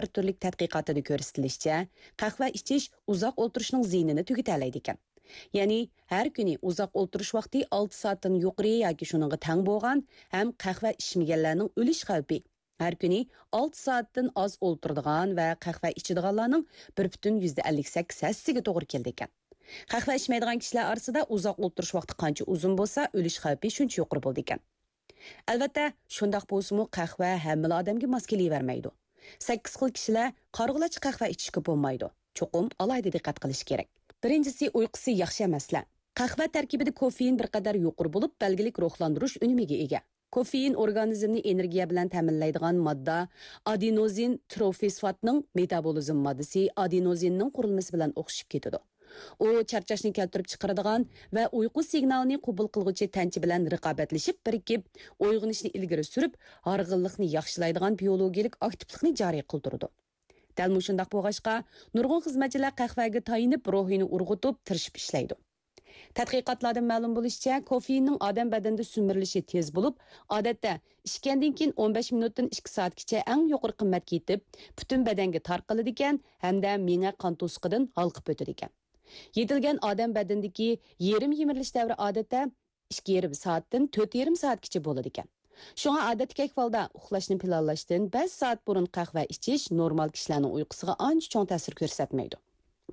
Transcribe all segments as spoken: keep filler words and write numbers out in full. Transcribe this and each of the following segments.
بىر تۈرلۈك تەتقىقاتىدا كۆرسىتىلىشىچە، قەھۋە ئىچىش ئۇزاق ئولتۇرۇشنىڭ زىيىنىنى تۈگىتەلەيدىكەن. يەنى، ھەر كۈنى ئۇزاق ئولتۇرۇش ۋاقتى ئالتە سائەتتىن يۇقىرى ياكى شۇنىڭغا تەڭ بولغان ھەم قەھۋە ئىچمىگەنلەرنىڭ ئۆلۈش خەۋپى ھەر كۈنى ئالتە سائەتتىن ئاز ئولتۇرىدىغان ۋە قەھۋە ئىچىدىغانلارنىڭ بىر پۈتۈن يۈزدە ئەللىك سەككىز ھەسسىسىگە توغرا كېلىدىكەن. قەھۋە ئىچمەيدىغان كىشىلەر ئارىسىدا ئۇزاق ئولتۇرۇش ۋاقتى قانچە ئۇزۇن بولسا، ئۆلۈش خەۋپى شۇنچە يۇقىرى بولىدىكەن. ئەلۋەتتە، شۇنداق بولسىمۇ، قەھۋە ھەممىلا ئادەمگە ماس كېلىۋەرمەيدۇ. سەككىز خىل كىشىلەر قارىغۇلارچە قەھۋە ئىچىشكە بولمايدۇ. چوقۇم ئالاھىدە دىققەت قىلىش كېرەك. بىرىنچىسى، ئۇيقۇسى ياخشى ئەمەسلەر. قەھۋە تەركىبىدە كوفېئىن بىر قەدەر يۇقىرى بولۇپ، بەلگىلىك روھلاندۇرۇش ئۈنۈمىگە ئىگە. كوفېئىن ئورگانىزمنى ئېنېرگىيە بىلەن تەمىنلەيدىغان ماددا ئادېنوزىن تروفىسفاتنىڭ مېتابولىزم ماددىسى ئادېنوزىننىڭ قۇرۇلمىسى بىلەن ئوخشىشىپ كېتىدۇ. ئۇ چارچاشنى كەلتۈرۈپ چىقىرىدىغان ۋە ئۇيقۇ سىگنالىنى قوبۇل قىلغۇچى تەنچە بىلەن رىقابەتلىشىپ بىرىكىپ، ئويغىنىشنى ئىلگىرى سۈرۈپ، ھارغىنلىقنى ياخشىلايدىغان بىيولوگىيەلىك ئاكتىپلىقنى جارى قىلدۇرىدۇ. دەل مۇشۇنداق بولغاچقا، نۇرغۇن خىزمەتچىلەر قەھۋەگە تايىنىپ، روھىنى ئۇرغۇتۇپ، تىرىشىپ ئىشلەيدۇ. تەتقىقاتلاردىن مەلۇم بولۇشىچە، كوفېئىننىڭ ئادەم بەدىنىدە سۈمۈرۈلۈشى تېز بولۇپ، ئادەتتە ئىچكەندىن كېيىن ئون بەش مىنۇتتىن ئىككى سائەتكىچە ئەڭ يۇقىرى قىممەتكە يېتىپ، پۈتۈن بەدەنگە تارقىلىدىكەن ھەمدە مېڭە قان توسۇقىدىن ھالقىپ ئۆتىدىكەن. يېتىلگەن ئادەم بەدىنىدىكى يېرىم يېمىرىلىش دەۋرى ئادەتتە ئىككى يېرىم سائەتتىن تۆت يېرىم سائەتكىچە بولىدىكەن. شۇڭا ئادەتتىكى ئەھۋالدا ئۇخلاشنى پىلانلاشتىن بەش سائەت بۇرۇن قەھۋە ئىچىش نورمال كىشىلەرنىڭ ئۇيقۇسىغا ئانچە چوڭ تەسىر كۆرسەتمەيدۇ.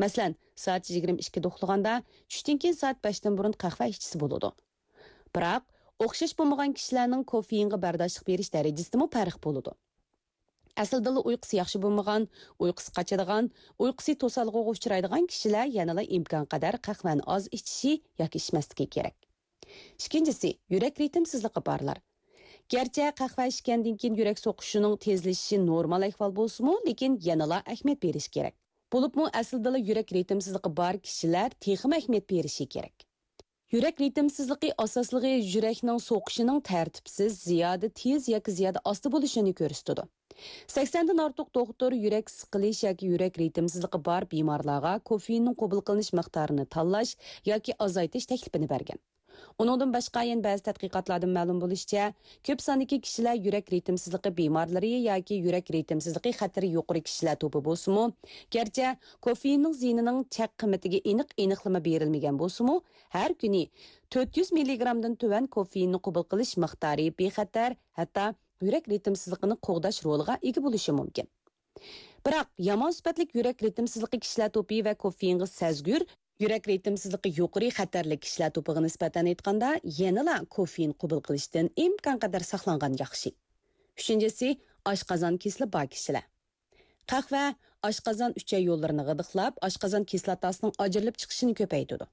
مەسىلەن، سائەت يىگىرمە ئىككىدە ئۇخلىغاندا، چۈشتىن كېيىن سائەت بەشتىن بۇرۇن قەھۋە ئىچسە بولىدۇ. بىراق، ئوخشاش بولمىغان كىشىلەرنىڭ كوفېئىنغا بەرداشلىق بېرىش دەرىجىسىدىمۇ پەرق بولىدۇ. ئەسلىدىلا ئۇيقۇسى ياخشى بولمىغان، ئۇيقۇسى قاچىدىغان، ئۇيقۇسى توسالغۇغا ئۇچرايدىغان كىشىلەر يەنىلا ئىمكانقەدەر قەھۋەنى ئاز ئىچىشى ياكى ئىچمەسلىكى كېرەك. ئىككىنچىسى، يۈرەك رىتىمسىزلىقى بارلار. گەرچە قەھۋە ئىچكەندىن كېيىن يۈرەك سوقۇشىنىڭ تېزلىشىشى نورمال ئەھۋال بولسىمۇ، لېكىن يەنىلا ئەھمىيەت بېرىش كېرەك. بولۇپمۇ ئەسلىدىلا يۈرەك رىتىمسىزلىقى بار كىشىلەر تېخىمۇ ئەھمىيەت بېرىشى كېرەك. يۈرەك رىتىمسىزلىقى ئاساسلىقى يۈرەكنىڭ سوقۇشىنىڭ تەرتىپسىز، زىيادە تېز ياكى زىيادە ئاستا بولۇشىنى كۆرسىتىدۇ. سەكسەندىن ئارتۇق دوختۇر يۈرەك سىقىلىش ياكى يۈرەك رىتىمسىزلىقى بار بىمارلارغا كوفېئىننىڭ قوبۇل قىلىنىش مىقدارىنى تاللاش ياكى ئازايتىش تەكلىپىنى بەرگەن. ئۇنىڭدىن باشقا، يەنە بەزى تەتقىقاتلاردىن مەلۇم بولۇشىچە، كۆپ ساندىكى كىشىلەر يۈرەك رىتىمسىزلىقى بىمارلىرى ياكى يۈرەك رىتىمسىزلىقى خەتىرى يۇقىرى كىشىلەر توپى بولسىمۇ، گەرچە كوفېئىننىڭ زىيىنىنىڭ چەك قىممىتىگە ئېنىق ئېنىقلىما بېرىلمىگەن بولسىمۇ، ھەر كۈنى تۆت يۈز مىللىگرامدىن تۆۋەن كوفېئىننى قوبۇل قىلىش مىقدارى بىخەتەر، ھەتتا يۈرەك رىتىمسىزلىقىنى قوغداش رولىغا ئىگە بولۇشى مۇمكىن. بىراق، يامان سۈپەتلىك يۈرەك رىتىمسىزلىقى كىشىلەر توپى ۋە كوفېئىنغا سەزگۈر، يۈرەك رىتىمسىزلىقى يۇقىرى خەتەرلىك كىشىلەر توپىغا نىسبەتەن ئېيتقاندا، يەنىلا كوفېئىن قوبۇل قىلىشتىن ئىمكانقەدەر ساقلانغان ياخشى. ئۈچىنچىسى، ئاشقازان كېسىلى بار كىشىلەر. قەھۋە ئاشقازان ئۈچەي يوللىرىنى غىدىقلاپ، ئاشقازان كىسلاتاسىنىڭ ئاجرىلىپ چىقىشىنى كۆپەيتىدۇ.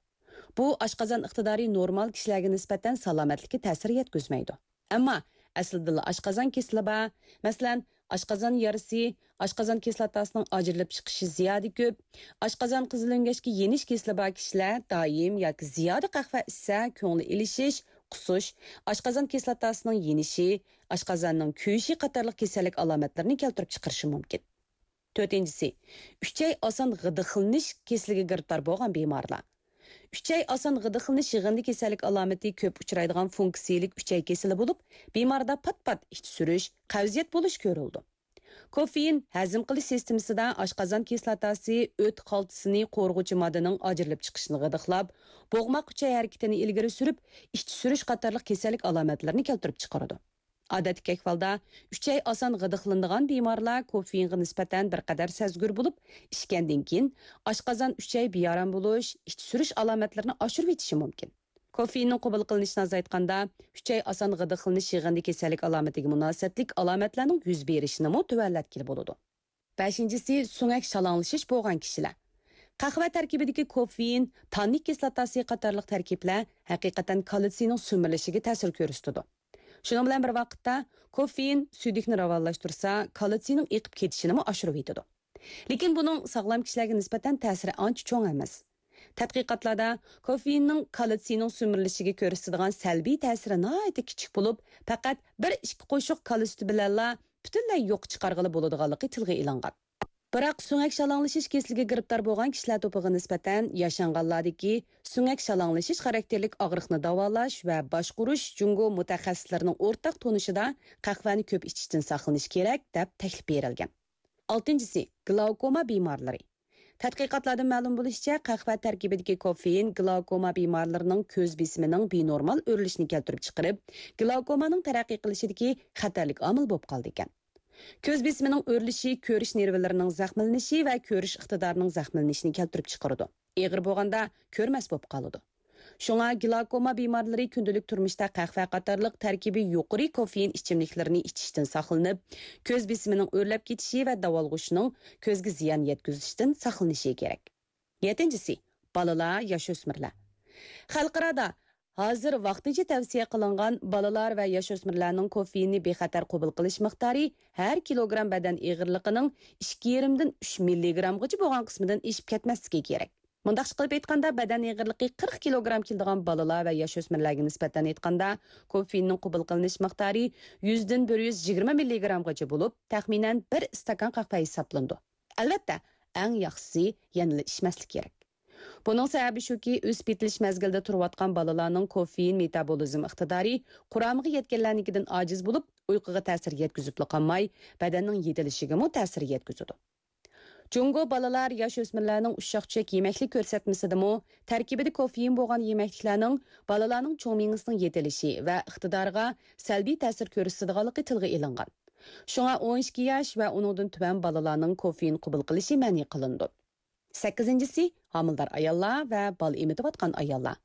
بۇ ئاشقازان ئىقتىدارى نورمال كىشىلەرگە نىسبەتەن سالامەتلىككە تەسىر يەتكۈزمەيدۇ. ئەمما ئەسلىدىلا ئاشقازان كېسىلى بار، مەسىلەن، ئاشقازان يارىسى، ئاشقازان كىسلاتاسىنىڭ ئاجرىلىپ چىقىشى زىيادە كۆپ، ئاشقازان قىزىل ئۆڭگەچكە يېنىش كېسىلى بار كىشىلەر دائىم ياكى زىيادە قەھۋە ئىچسە، كۆڭلى ئېلىشىش، قۇسۇش، ئاشقازان كىسلاتاسىنىڭ يېنىشى، ئاشقازاننىڭ كۆيۈشى قاتارلىق كېسەللىك ئالامەتلىرىنى كەلتۈرۈپ چىقىرىشى مۇمكىن. تۆتىنچىسى، ئۈچەي ئاسان غىدىقلىنىش كېسىلىگە گىرىپتار بولغان بىمارلار. ئۈچەي ئاسان غىدىقلىنىش يىغىندى كېسەللىك ئالامىتى كۆپ ئۇچرايدىغان فۇنكسىيىلىك ئۈچەي كېسىلى بولۇپ، بىماردا پات-پات ئىچ سۈرۈش، قەۋزىيەت بولۇش كۆرۈلىدۇ. كوفېئىن ھەزىم قىلىش سىستېمىسىدا ئاشقازان كىسلاتاسى، ئۆت خالتىسىنى قورۇغۇچى ماددىنىڭ ئاجرىلىپ چىقىشىنى غىدىقلاپ، بوغماق ئۈچەي ھەرىكىتىنى ئىلگىرى سۈرۈپ، ئىچ سۈرۈش قاتارلىق كېسەللىك ئالامەتلىرىنى كەلتۈرۈپ چىقىرىدۇ. ئادەتتىكى ئەھۋالدا، ئۈچەي ئاسان غىدىقلىنىدىغان بىمارلار كوفېئىنغا نىسبەتەن بىر قەدەر سەزگۈر بولۇپ، ئىچكەندىن كېيىن ئاشقازان، ئۈچەي بىئارام بولۇش، ئىچ سۈرۈش ئالامەتلىرىنى ئاشۇرۇۋېتىشى مۇمكىن. كوفېئىننىڭ قوبۇل قىلىنىشىنى ئازايتقاندا، ئۈچەي ئاسان غىدىقلىنىش يىغىندى كېسەللىك ئالامىتىگە مۇناسىۋەتلىك ئالامەتلەرنىڭ يۈز بېرىشىنىمۇ تۆۋەنلەتكىلى بولىدۇ. بەشىنچىسى، سۆڭەك شالاڭلىشىش بولغان كىشىلەر. قەھۋە تەركىبىدىكى كوفېئىن تاننىك كىسلاتاسى قاتارلىق تەركىبلەر ھەقىقەتەن كالتسىينىڭ سۈمۈرۈلۈشىگە تەسىر كۆرسىتىدۇ. شۇنىڭ بىلەن بىر ۋاقىتتا، كوفېئىن سۈيدۈكنى راۋانلاشتۇرسا، كالتسىينىڭ ئېقىپ كېتىشىنىمۇ ئاشۇرۇۋېتىدۇ. لېكىن بۇنىڭ ساغلام كىشىلەرگە نىسبەتەن تەسىرى ئانچە چوڭ ئەمەس. تەتقىقاتلاردا كوفېئىننىڭ كالتسىينىڭ سۈمۈرۈلۈشىگە كۆرسىتىدىغان سەلبىي تەسىرى ناھايىتى كىچىك بولۇپ، پەقەت بىر ئىككى قوشۇق كالا سۈتى بىلەنلا پۈتۈنلەي يوققا چىقارغىلى بولىدىغانلىقى تىلغا ئېلىنغان. بىراق سۆڭەك شالاڭلىشىش كېسىلىگە گىرىپتار بولغان كىشىلەر توپىغا نىسبەتەن ياشانغانلاردىكى سۆڭەك شالاڭلىشىش خاراكتېرلىك ئاغرىقنى داۋالاش ۋە باشقۇرۇش جۇڭگو مۇتەخەسسىسلىرىنىڭ ئورتاق تونۇشىدا قەھۋەنى كۆپ ئىچىشتىن ساقلىنىش كېرەك، دەپ تەكلىپ بېرىلگەن. ئالتىنچىسى، گلاۋكوما بىمارلىرى. تەتقىقاتلاردىن مەلۇم بولۇشىچە، قەھۋە تەركىبىدىكى كوفېئىن گلاۋكوما بىمارلىرىنىڭ كۆز بېسىمىنىڭ بىنورمال ئۆرلىشىنى كەلتۈرۈپ چىقىرىپ، گلاۋكومانىڭ تەرەققىي قىلىشىدىكى خەتەرلىك ئامىل بولۇپ قالىدىكەن. كۆز بېسىمىنىڭ ئۆرلىشى كۆرۈش نېرۋىلىرىنىڭ زەخىملىنىشى ۋە كۆرۈش ئىقتىدارىنىڭ زەخىملىنىشىنى كەلتۈرۈپ چىقىرىدۇ. ئېغىر بولغاندا كۆرمەس بولۇپ قالىدۇ. شۇڭا گلاكوما بىمارلىرى كۈندىلىك تۇرمۇشتا قەھۋە قاتارلىق تەركىبى يۇقىرى كوفېئىن ئىچىملىكلىرىنى ئىچىشتىن ساقلىنىپ، كۆز بېسىمىنىڭ ئۆرلەپ كېتىشى ۋە داۋالغۇشىنىڭ كۆزگە زىيان يەتكۈزۈشىدىن ساقلىنىشى كېرەك. يەتتىنچىسى، بالىلار، ياش ئۆسمۈرلەر. خەلقئارادا ھازىر ۋاقتىنچە تەۋسىيە قىلىنغان بالىلار ۋە ياش ئۆسمۈرلەرنىڭ كوفېئىننى بىخەتەر قوبۇل قىلىش مىقدارى ھەر كىلوگرام بەدەن ئېغىرلىقىنىڭ ئىككى يېرىمدىن ئۈچ مىللىگرامغىچە بولغان قىسمىدىن ئېشىپ كەتمەسلىكى كېرەك. مۇنداقچە قىلىپ ئېيتقاندا، بەدەن ئېغىرلىقى قىرىق كىلوگرام كېلىدىغان بالىلار ۋە ياش ئۆسمۈرلەرگە نىسبەتەن ئېيتقاندا، كوفېئىننىڭ قوبۇل قىلىنىش مىقدارى يۈزدىن بىر يۈز يىگىرمە مىللىگرامغىچە بولۇپ، تەخمىنەن بىر ئىستاكان قەھۋە ھېسابلىنىدۇ. ئەلۋەتتە، ئەڭ ياخشىسى يەنىلا ئىچمەسلىك كېرەك. بۇنىڭ سەۋەبى شۇكى، ئۆسۈپ يېتىلىش مەزگىلىدە تۇرۇۋاتقان بالىلارنىڭ كوفېئىن مېتابولىزم ئىقتىدارى قۇرامىغا يەتكەنلەرنىڭكىدىن ئاجىز بولۇپ، ئۇيقۇغا تەسىر يەتكۈزۈپلا قالماي، بەدەننىڭ يېتىلىشىگىمۇ تەسىر يەتكۈزىدۇ. جۇڭگو بالىلار، ياش ئۆسمۈرلەرنىڭ ئۇششاق-چۈشەك يېمەكلىك كۆرسەتمىسىدىمۇ تەركىبىدە كوفېئىن بولغان يېمەكلىكلەرنىڭ بالىلارنىڭ چوڭ مېڭىسىنىڭ يېتىلىشى ۋە ئىقتىدارىغا سەلبىي تەسىر كۆرسىتىدىغانلىقى تىلغا ئېلىنغان. شۇڭا ئون ئىككى ياش ۋە ئۇنىڭدىن تۆۋەن بالىلارنىڭ كوفېئىن قوبۇل قىلىشى مەنئى قىلىنىدۇ. سەككىزىنچىسى، ھامىلىدار ئاياللار ۋە بالا ئېمىتىۋاتقان ئاياللار.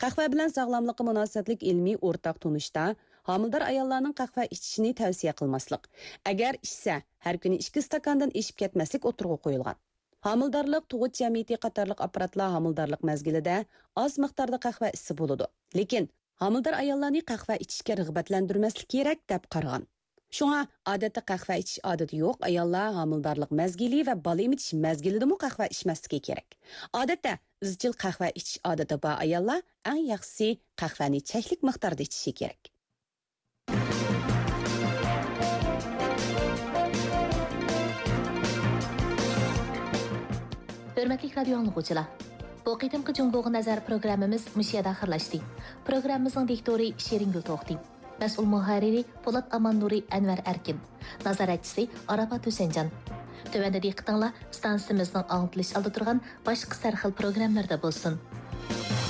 قەھۋە بىلەن ساغلاملىققا مۇناسىۋەتلىك ئىلمىي ئورتاق تونۇشتا ھامىلىدار ئاياللارنىڭ قەھۋە ئىچىشىنى تەۋسىيە قىلماسلىق، ئەگەر ئىچسە، ھەر كۈنى ئىككى ئىستاكاندىن ئېشىپ كەتمەسلىك ئوتتۇرىغا قويۇلغان. ھامىلىدارلىق، تۇغۇت جەمئىيىتى قاتارلىق ئاپپاراتلار ھامىلىدارلىق مەزگىلىدە ئاز مىقداردا قەھۋە ئىچسە بولىدۇ، لېكىن ھامىلىدار ئاياللارنى قەھۋە ئىچىشكە رىغبەتلەندۈرمەسلىك كېرەك، دەپ قارىغان. شۇڭا، ئادەتتە قەھۋە ئىچىش ئادىتى يوق ئاياللار ھامىلىدارلىق مەزگىلى ۋە بالا ئېمىتىش مەزگىلىدىمۇ قەھۋە ئىچمەسلىكى كېرەك. ئادەتتە، ئىزچىل قەھۋە ئىچىش ئادىتى بار ئاياللار، ئەڭ ياخشىسى، قەھۋەنى چەكلىك مىقداردا ئىچىشى كېرەك. ھۆرمەتلىك رادىيو ئاڭلىغۇچىلار، بۇ قېتىمقى جۇڭگوغا نەزەر پروگراممىمىز مۇشۇ يەردە ئاخىرلاشتى. پروگراممىمىزنىڭ دىكتورى شېرىنگۈل توختى. مەسئۇل مۇھەررىرى پولات ئاماننۇرى، ئەنۋەر ئەركىن. نازارەتچىسى ئاراپات ھۈسەنجان. تۆۋەندە دىققىتىڭلار ئىستانسىمىزنىڭ ئاڭلىتىلىش ئالدىدا تۇرغان باشقا سەرخىل پروگراممىلىرىدا بولسۇن.